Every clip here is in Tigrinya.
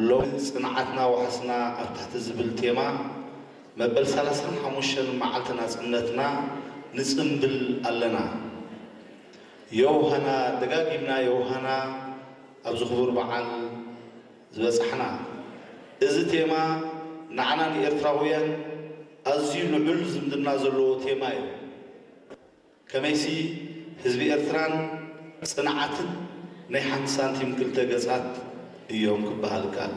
ሎሚ ጽንዓትና ዋሕስና ኣብ ትሕቲ ዝብል ቴማ መበል ሰላሳን ሓሙሽተን መዓልቲ ናጽነትና ንጽምብል ኣለና። የውሃና፣ ደጋጊምና የውሃና ኣብዚ ክቡር በዓል ዝበጻሕና። እዚ ቴማ ንዓና ንኤርትራውያን ኣዝዩ ልዑል ዝምድና ዘለዎ ቴማ እዩ። ከመይሲ ህዝቢ ኤርትራን ጽንዓትን ናይ ሓንቲ ሳንቲም ክልተ ገጻት እዮም ክበሃል ይከኣል።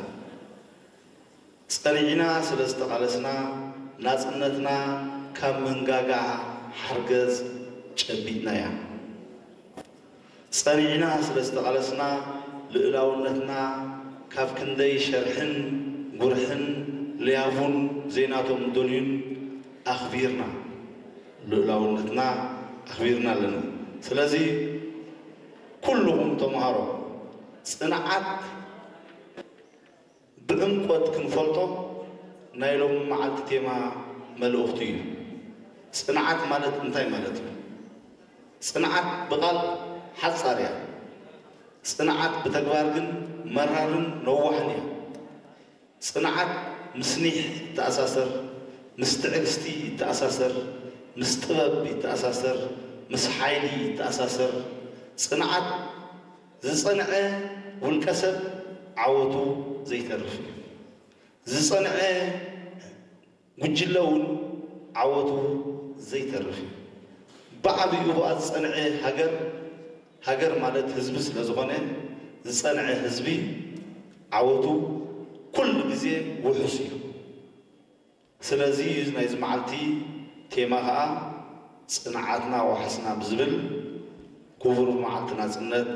ጸኒዕና ስለ ዝተቓለስና ናጽነትና ካብ መንጋጋ ሓርገጽ ጨቢጥናያ። ጸኒዕና ስለ ዝተቓለስና ልኡላውነትና ካብ ክንደይ ሸርሕን ጉርሕን ለያቡን ዘይናቶም ደልዩን ኣኽቢርና፣ ልኡላውነትና ኣኽቢርና ኣለና። ስለዚ ኩልኹም ተምሃሮ ጽንዓት ብዕምቆት ክንፈልጦ ናይ ሎሚ መዓልቲ ቴማ መልእኽቱ እዩ። ጽንዓት ማለት እንታይ ማለት እዩ? ጽንዓት ብቓል ሓጻር እያ። ጽንዓት ብተግባር ግን መራርን ነዋሕን እያ። ጽንዓት ምስ ኒሕ ይተኣሳሰር፣ ምስ ትዕግስቲ ይተኣሳሰር፣ ምስ ጥበብ ይተኣሳሰር፣ ምስ ሓይሊ ይተኣሳሰር። ጽንዓት ዝጸንዐ ውልቀ ሰብ ዓወቱ ዘይተርፍ እዩ። ዝጸንዐ ጉጅለ እውን ዓወቱ ዘይተርፍ እዩ። ብዓቢኡ ብኣ ዝጸንዐ ሃገር፣ ሃገር ማለት ህዝቢ ስለ ዝኾነ፣ ዝጸንዐ ህዝቢ ዓወቱ ኩሉ ግዜ ውሑስ እዩ። ስለዚ ናይዚ መዓልቲ ቴማ ኸኣ ጽንዓትና ዋሕስና ብዝብል ክቡር መዓልቲ ናጽነት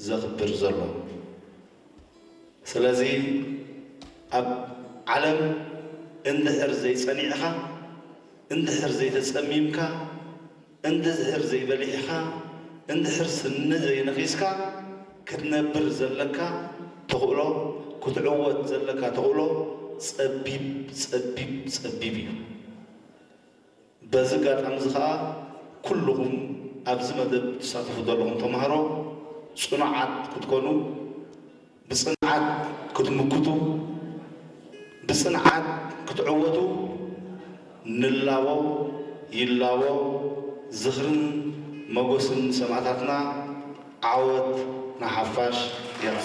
ዘኽብር ዘሎ። ስለዚ ኣብ ዓለም እንድሕር ዘይጸኒዕኻ፣ እንድሕር ዘይተጸሚምካ፣ እንድሕር ዘይበሊዕኻ፣ እንድሕር ስኒ ዘይነኺስካ ክትነብር ዘለካ ተኽእሎ፣ ክትዕወት ዘለካ ተኽእሎ ጸቢብ፣ ጸቢብ፣ ጸቢብ እዩ። በዚ ኣጋጣሚ እዚ ኸኣ ኩልኹም ኣብዚ መደብ ትሳተፉ ዘለኹም ተምሃሮ ጽኑዓት ክትኮኑ፣ ብጽንዓት ክትምክቱ፣ ብጽንዓት ክትዕወቱ ንላቦ ይላቦ። ዝኽርን መጎስን ንሰማእታትና። ዓወት ንሓፋሽ። የቐ